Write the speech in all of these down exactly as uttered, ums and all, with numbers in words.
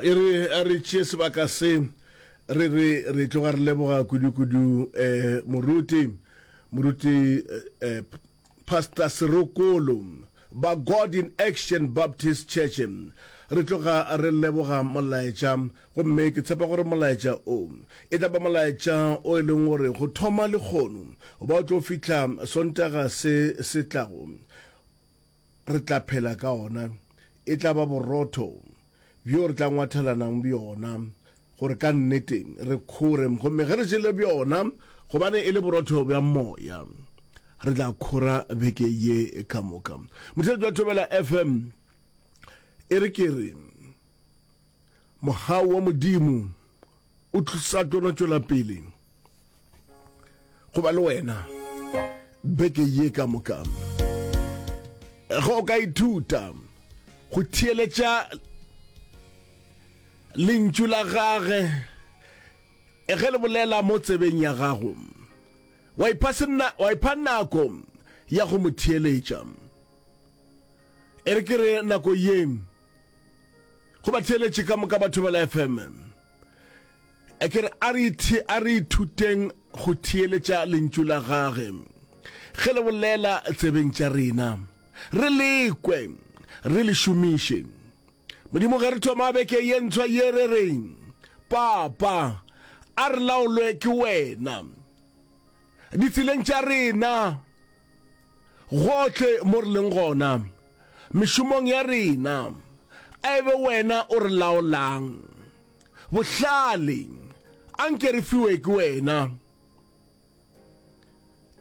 Ya, e re a re tšee sebaka se re re re tloga re leboga kudu-kudu eh, moruti moruti eh, Pastor Serokolo ba God in Action Baptist Church. Re tloga re leboga molaetša, gomme ke tshepa gore molaetša o e tla ba molaetša o e leng gore go thoma lekgono ba o tlo fihla Sontaga se se tlago re tla phela ka ona. E tla ba borotho bjo re tla ngwathelanang bjona gore ka nnete re khore, gomme ge re jele bjona, gobane e le borotho bja moya, re tla khora beke ye ka moka. Motheletši wa Thobela F M, e re ke re mogau wa Modimo o sa tlo no tšwela pele go ba le wena beke ye ka moka. Ge o ka ithuta go theeletša lentšu la gage ge le bolela mo tsebeng ya gago, wa ipha senna, wa ipha nako ya go mo theeletša. E re ke re nako ye go ba theeletše ka moka ba Thobela F M, e ke re a re a re ithuteng go theeletša lentšu la gage ge le bolela tsebeng tša rena, re lekwe, re le šomiše. Modimo, ge re thoma beke ye ntshwa ye, re re, Papa, a re laolwe ke wena ditseleng tša rena, gohle mo re leng gona, mešomong ya rena, a e be wena o re laolang. Bohlale, anke re fiwe ke wena.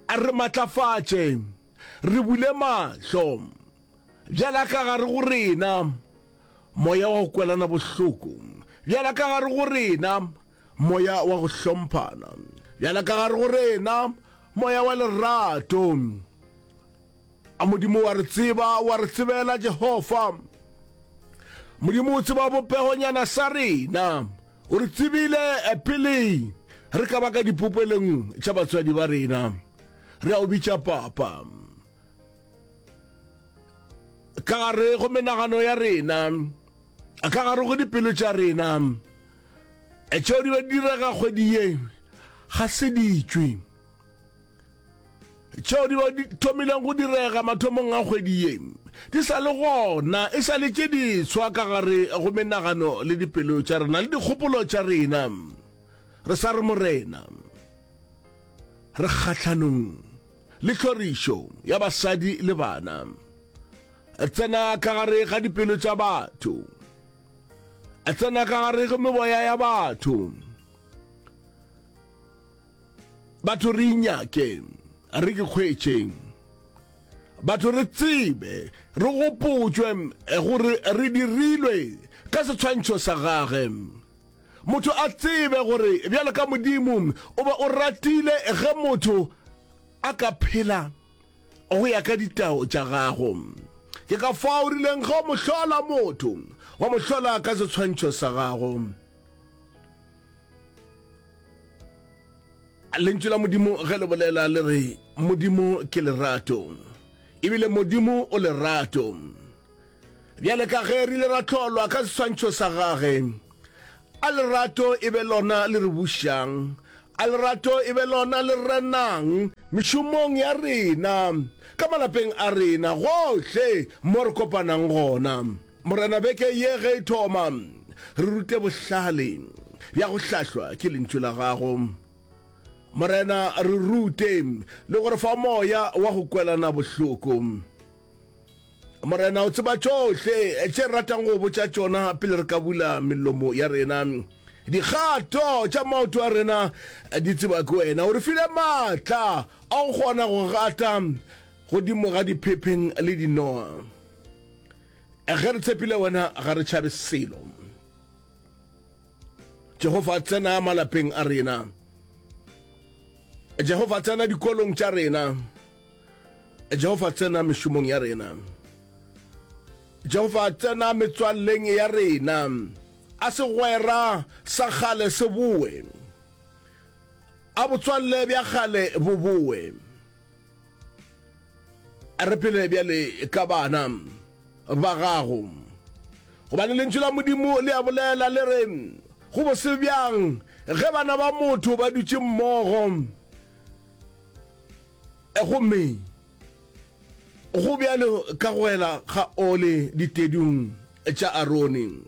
A re matlafatše, re bule mahlo, bjala ka gare go rena moya wa go kwelana bohloko, bjala ka gare go rena moya wa go hlomphana, bjala ka gare go rena moya wa lerato. A Modimo wa re tseba, wa re tsebela, Jehofa. Modimo o tseba bopegonyana sa rena. O re tsebile pele re ka ba ka dipopelong tša batswadi ba rena. Re a o bitša Papa. Ka gare go menagano ya rena, ka gare go dipelo tša rena, tšeo di be di direga kgwedi ye ga se di tšwe. Tšeo di be di thomileng go direga mathomong a kgwedi ye di sa le gona, e sa le tše diswa ka gare go menagano le dipelo tša rena le dikgopolo tša rena. Re sa re, Morena, re kgahlanong le tlhorišo ya basadi le bana. Tsena ka gare ga dipelo tša batho, tsena ka gare go meboya ya batho. Batho re inyake, re ke kgwetše. Batho re tsebe, re gopotšwe gore re dirilwe ka setshwantšho sa gage. Motho a tsebe gore bjalo ka Modimo o be o ratile ge motho a ka phela go ya ka ditao tša gago. Ke ka fao o rileng ge o mo hlola motho, wa mo hlola ka setshwantšho sa gago. Lentšu la Modimo ge le bolela le re Modimo ke lerato, ebile Modimo o lerato. Bjale ka ge re ile ra hlolwa ka seswantšho sa gage, a lerato e be lona le re bušang, a lerato e be lona le renang mešomong ya rena, ka malapeng a rena, gohle mo re kopanang gona. Morena, beke ye ge e thoma, re rute bohlale bja go hlahlwa ke Lentšu la Gago. Morena, re rute le go re fa moya wa go kwelana bohloko. Morena, o tseba tšohle tše re ratang go botša tšona pele re ka bula melomo ya rena. Dikgato tša maoto a rena di tseba ke wena. O re file maatla a go kgona go gata godimo ga diphepheng le dinoa. Ge re tshepile wena, ga re tšhabe selo. Jehofa, tsena malapeng a rena. Jehofa, tsena dikolong tša rena. Jehofa, tsena mešomong ya rena. Jehofa, tsena metswalleng ya rena. A segwera sa kgale se boe. A botswalle bja kgale bo boe. Re phele bjale ka bana ba gago, Gobane Lentšu la Modimo le a bolela le re, Go bose bjang ge bana ba motho ba dutše mmogo, gomme go bjalo ka go ela ga ole ditedung tša Arone.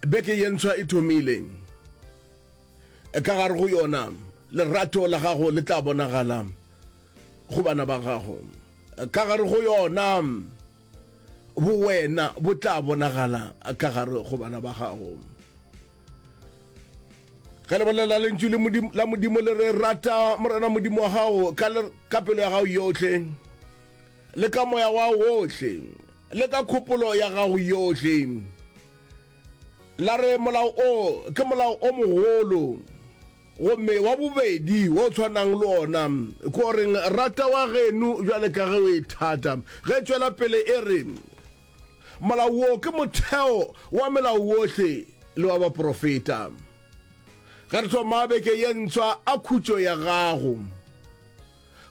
Beke ye ntshwa e thomile. Ka gare go yona, lerato la gago le tla bonagala go bana ba gago. Ka gare go yona, bowena bo tla bonagala ka gare go bana ba gago. Ge le bolela lentšu le Modimo, la Modimo le re, Rata Morena Modimo wa gago ka, le, ka pelo ya gago yohle, le ka moya wa wohle, le ka kgopolo ya gago yohle. La re, Molao o ke molao o mogolo, gomme wa bobedi wo o tshwanang le ona ke o reng, Rata wa geno bjale ka ge o ithata. Ge e tšwela pele e re, Molao wo ke motheo wa melao wohle le wa baprofeta. Ge re thoma beke ye ntshwa, a khutšo ya gago,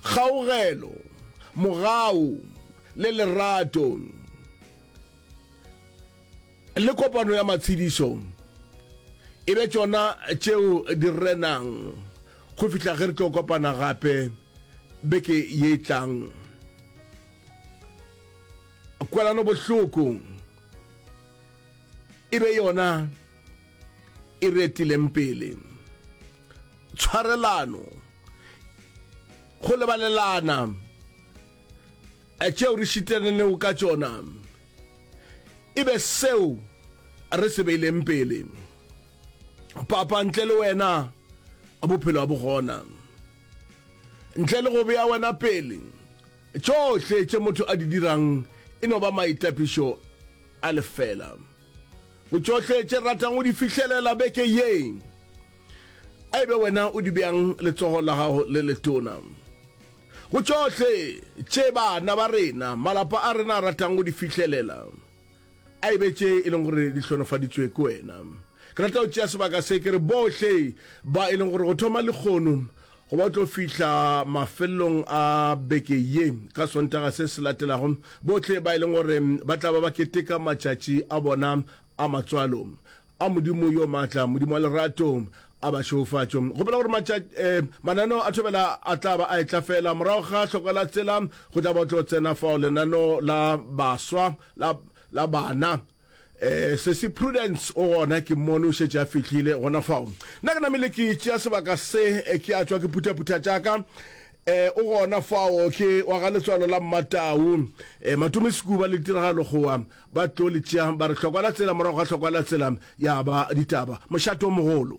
kgaugelo, mogau le lerato le kopano ya matshedišo e be tšona tšeo di renang go fihla ge re tlo kopana gape beke ye e tlang. Kwelano bohloko e be yona e re etileng pele. Tshwarelano, go lebalelana tšeo re šitelanego ka tšona e be seo re se beileng pele. Papa, ntle le wena bophelo ga bo gona. Ntle le go bea wena pele, tšohle tše motho a di dirang e no ba maitapišo a lefela. Go tšohle tše re ratang go di fihlelela beke ye, a e be wena o di beang letsogo la gago le letona. Go tšohle tše bana ba rena, malapa a rena a ratang go di fihlelela, a e be tše e leng gore di hlonofaditšwe ke wena. Ke rata go tšea sebaka se ke re bohle ba e leng gore go thoma lekgono go ba tlo fihla mafelelong a beke ye ka Sontaga se se latelago, bohle ba e leng gore ba tla ba ba keteka matšatši a bona a matswalo, A Modimo yo maatla, Modimo wa lerato, a ba šegofatšo. Gopola gore matša, eh, mananeo a thobela a tla ba a etla fela morago ga hloko la tsela, go tla ba tlo tsena fao lenaneo la baswa, la, la bana. Eh, Sesi Prudence o gona, ke mmone o šetše a fihlile gona fao. Nna ke namile ke tšea sebaka se, eh, ke a tšwa ke phuthaphutha tša ka. Eh, o gona fao, ke wa ga letswalo la Mmatau. Eh, Matome Sekuba le Tiragalo Kgowa Ba tlo le tšea ba re hlokwa la tsela, morago ga hlokwa la tsela ya ba ditaba. Mošate o mogolo.